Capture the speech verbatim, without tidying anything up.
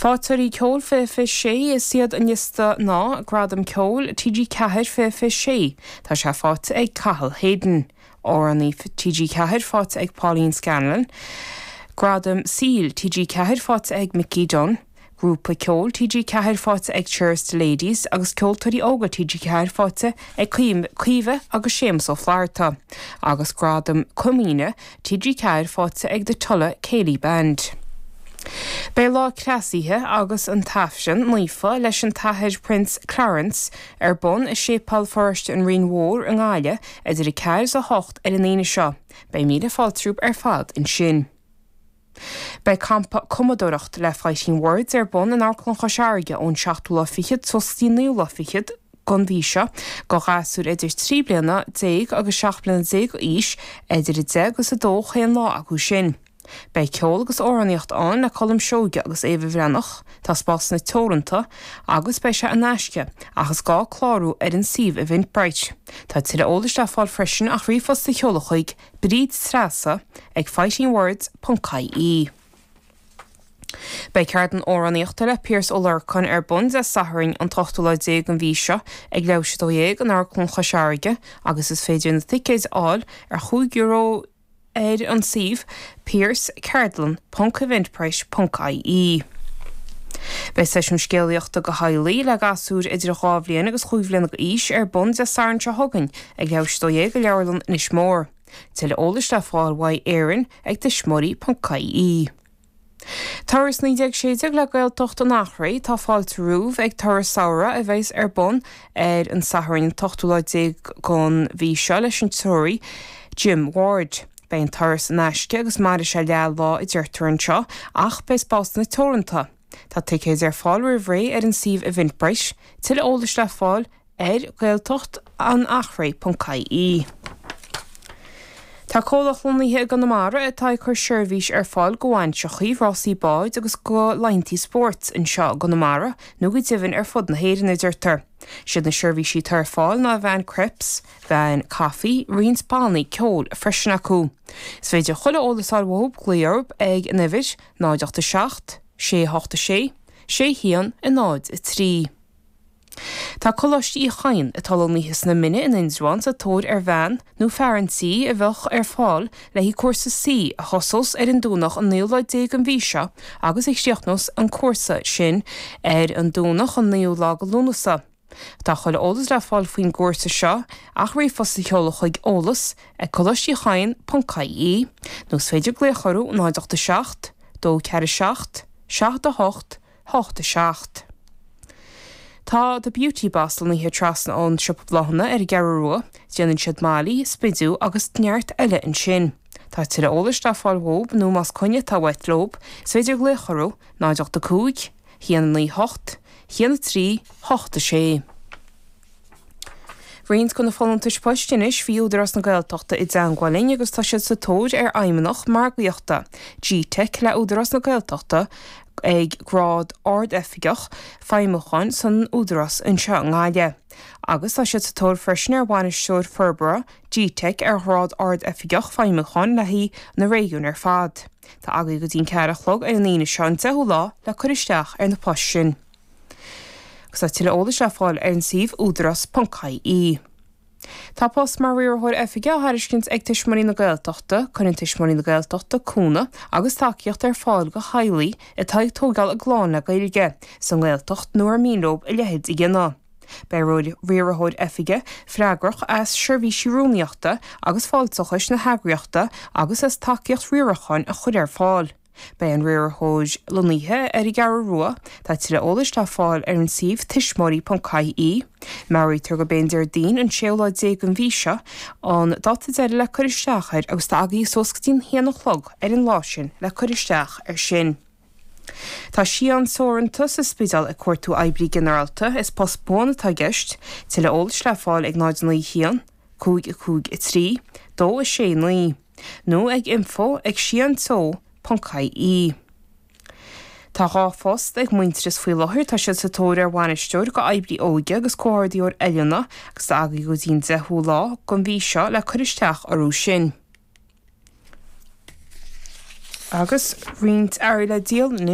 Faighteoirí Ceoil fiche fiche sé is iad an liosta ná Gradam Ceoil TG Ceathair fiche fiche sé, tá sé faighte ag Cathal Hayden. Amhránaí TG Ceathair faighte ag Pauline Scanlon. Gradam Saoil TG Ceathair faighte ag Mickey Dunn. Grúpa Ceoil TG Ceathair faighte ag Cheers to Ladies agus Ceoltóirí Óga TG Ceathair faighte ag Caoimhe agus Séamus Ó Flatharta, agus Gradam Comaoine TG Ceathair faighte ag The Tulla Céilí Band. Beidh lá cleasaithe agus an tAifreann Naofa leis an tAthair Prince Clarence ar bun i Séipéal Pharóiste an Rinn Mhór i nGaillimh idir a ceathair is a hocht ar an Aoine seo. Beidh míle fáilte romhaibh ar fad ansin. Beidh campa cumadóireacht le Fighting Words ar bun in Amharclann Chois Fharraige ón seachtú lá fichead suas go dtí an naoú lá fichead den mhí seo do ghasúir idir trí bliana déag agus seacht bliana déag d'aois idir a deich agus a dó chaon lá acu sin. Beidh ceol agus amhránaíocht ann le Colm Seoige agus Éabha Bhreathnach, tá spásanna teoranta agus beidh sé in aisce ach is gá clárú ar an suíomh Eventbrite. Tá tuilleadh eolais le fáil freisin ach ríomhphost a sheoladh chuig Bríd Treasa ag fightingwords.ie. Beidh ceardlann amhránaíochta le Pearse Ó Lorcáin ar bun Dé Sathairn an t-ochtú lá déag den mhí seo ag leathuair tar éis a dó dhéag in Amharclann Chois Fharraige agus is féidir na ticéid a fháil ar chúig euro ar an suíomh pearseceardlann.eventbrite.ie. Beidh seisiún scéalaíochta do theaghlaigh le gasúir idir dhá bhliain agus chúig bhliana d'aois ar bun Dé Sathairn seo chugainn ag leathuair tar éis a dó dhéag i Leabharlann Inis Mór. Tuilleadh eolais le fáil uaidh Éirinn ag tuismitheoirí.ie. Turas naoi déag sé déag le Gaeltacht an Eachréidh tá fáilte romhaibh ag turas samhraidh a bheas ar bun ar an Satharn an t-ochtú lá déag den mhí seo leis an treoraí Jim Ward. Beidh an turas in aisce agus mairfidh sé leath lá a deirtear anseo ach beidh spásanna teoranta. Tá ticéid ar fáil roimh ré ar an suíomh Eventbrite, tuilleadh eolais le fáil ar Gaeltacht an Eachréidh.ie. Tá comhlacht lonnaithe i gConamara atá ag cur seirbhís ar fáil do bhainseachaí, rásaí báid agus do laethanta spóirt anseo i gConamara nó go deimhin ar fud na hÉireann a deirtear. Siad na seirbhísí atá ar fáil ná veain crepes, veain caife, roinnt bannaí ceoil freisin acu. Is féidir chuile eolas a fháil uathu glaoch orthu ag an uimhir náid ocht a seacht, sé hocht a sé, sé haon a náid a trí. Tá Coláiste Uí Chadhain atá lonnaithe sna Mine in Indreabhán sa tóir ar bhean nó fear an tí a bheadh ar fáil le haghaidh cúrsa C a thosós ar an Domhnach an naoú lá déag den mhí seo agus a chríochnós an cúrsa sin ar an Domhnach an naoú lá de Lúnasa. Tá chuile eolas le fáil faoin gcúrsa seo ach ríomhphost a sheoladh chuig eolas ag coláiste uí chadhain ponc ie nó is féidir glaoch orthu náid ocht a seacht, dó ceathair a seacht, seacht a hocht, hocht a seacht. Tá The Beauty Boss lonnaithe trasna ón siopa bláthanna ar an gCeathrú Rua, déanann siad mailí, spidiú agus neart eile ansin. Tá tuilleadh eolais le fáil uathu nó más coinne atá uait leo, is féidir glaoch orthu náid ocht a cúig, haon a naoi hocht, haon a trí, hocht a sé. Roinnt de na folúntais poist anois bhí Údarás na Gaeltachta i dteagmháil linn agus tá siad sa tóir ar fheidhmeannach margaíochta GTeic le Údarás na Gaeltachta ag grád ard-oifigeach feidhmiúcháin san Údarás anseo i nGaillimh. Agus tá siad sa tóir freisin ar bhainisteoir forbartha GTeic ar ghrád ard-oifigeach feidhmiúcháin le haghaidh na réigiún ar fad. Tá agaibh go dtí an ceathair a chlog ar an Aoine seo an deichiú lá le cur isteach ar na poist sin. Agus tá tuilleadh eolais le fáil ar an suíomh údarás.ie. Tá post mar riarthóir oifige á thairiscint ag Tuismitheoirí na Gaeltachta, cuireann Tuismitheoirí na Gaeltachta cúnamh agus tacaíocht ar fáil do theaghlaigh atá ag tógáil a gclann le Gaeilge sa nGaeltacht nó ar mian leo a leithéid a dhéanamh. Beidh riarthóir oifige freagrach as seirbhísí rúnaíochta agus fáilteachais na heagraíochta agus as tacaíocht riaracháin a chur ar fáil. Beidh an riarthóir lonnaithe ar an gCeathrú Rua, tá tuilleadh eolais le fáil ar an suíomh tuismitheoirí.ie. Meabhraítear gurb é an Déardaoin an séú lá déag den mhí seo an dáta deiridh le cur isteach air agus tá agaibh suas go dtí an haon a chlog ar an lá sin le cur isteach air sin. Tá Síon Teoranta sa Spidéal ag cuartú oibrí ginearálta, is post buan atá i gceist, tuilleadh eolais le fáil ag náid naoi haon, cúig a cúig a trí, dó a sé naoi, nó ag info ag síonteo ponc ie. Tá dhá phost ag Muintearas faoi láthair, tá siad sa tóir ar bhainisteoir do oibrí óige agus comhordaitheoir oiliúna agus tá agaibh go dtí an deichiú lá den mhí seo le cur isteach orthu sin. Agus roinnt earraí le díol anois.